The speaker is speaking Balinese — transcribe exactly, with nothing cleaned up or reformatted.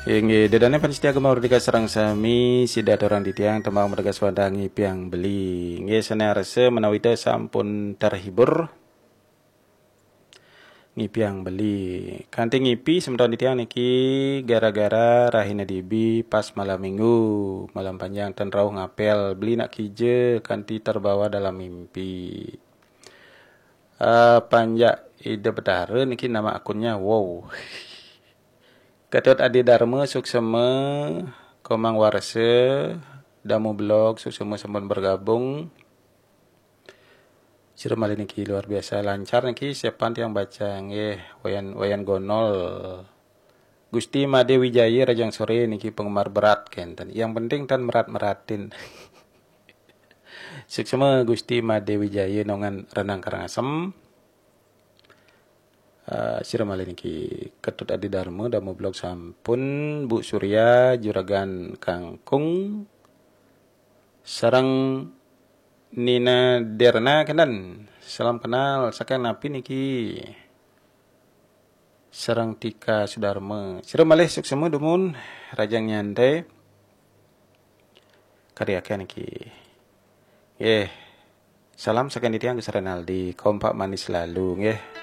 Inggih, ida dané pamiarsa Gema Merdeka sareng sami, sida aturang titiang tembang Merdeka Suara Ngipiang Beli. Inggih, sané arsa menawi ida sampun terhibur, ngipiang beli. Kanti ngipi semeton titiang niki gara-gara rahina dibi pas malam minggu, malam panjang ten rauh ngapel, beli nak kija kanti terbawa dalam mimpi. Eh, panjak Ida Betara niki nama akunnya. Wow. Ketut Adi Dharma, suksema. Komang Warsa, Damu Blog, suksema sampun bergabung. Sira malih niki luar biasa lancar niki, siapan tiang baca nggih, Wayan, Wayan Gonol. Gusti Made Wijaya, Rajang Sore niki penggemar berat kenten. Yang penting tan merat-meratin. Suksema Gusti Made Wijaya, Nongan Renang Karangasem. Uh, sira malih niki, Ketut Adi Dharma, Damu Blog sampun, Bu Surya, Juragan Kangkung, sareng Nina Derna kenten. Salam kenal, saking napi niki? Sareng Tika Sudarma. Sira malih suksema dumun, Rajang Nyantai. Karyakan niki. Nggih. Salam saking titiang Gus Renaldi, kompak manis selalu nggih.